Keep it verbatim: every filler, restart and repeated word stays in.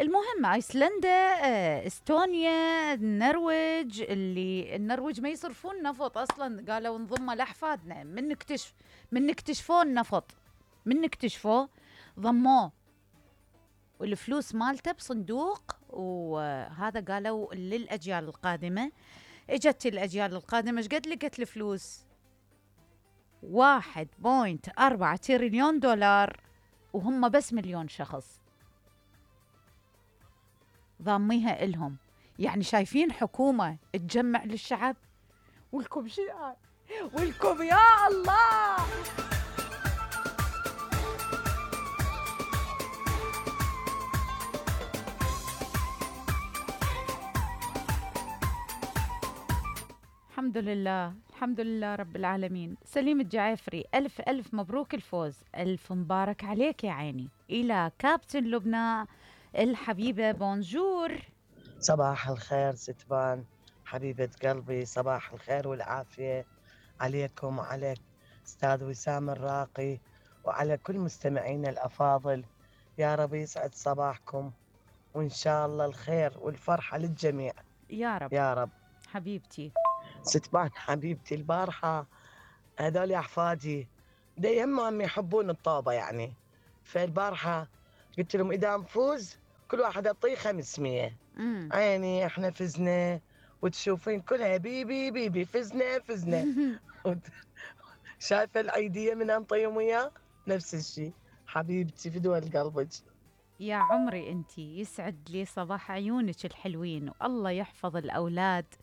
المهم ايسلندا، آه، استونيا، النرويج. اللي النرويج ما يصرفون نفط اصلا، قالوا نضمه لاحفادنا من نكتشف من نكتشفوه النفط، من نكتشفوه ضموه والفلوس مالته بصندوق، وهذا قالوا للاجيال القادمه. اجت الاجيال القادمه ايش قد لقت الفلوس؟ واحد بوينت أربعة تريليون دولار، وهم بس مليون شخص ضاميها إلهم. يعني شايفين حكومة تجمع للشعب، ولكم شيء، ولكم يا الله. الحمد لله، الحمد لله رب العالمين. سليم الجعافري، ألف ألف مبروك الفوز، ألف مبارك عليك يا عيني. إلى كابتن لبنى الحبيبة، بونجور. صباح الخير ستبان حبيبة قلبي، صباح الخير والعافية عليكم وعلى أستاذ وسام الراقي وعلى كل مستمعينا الأفاضل. يا رب يسعد صباحكم، وإن شاء الله الخير والفرحة للجميع يا رب يا رب. حبيبتي ستبان حبيبتي، البارحة هذول أحفادي دايما يحبون الطوبة يعني، فالبارحة قلت لهم إذا نفوز كل واحد أعطيه خمسمية. مم. عيني احنا فزنا، وتشوفين كلها بيبي بيبي فزنا فزنا. شايفة العيدية من أنطيهم وياه نفس الشيء. حبيبتي في دول قلبك. يا عمري انتي، يسعد لي صباح عيونك الحلوين، والله يحفظ الأولاد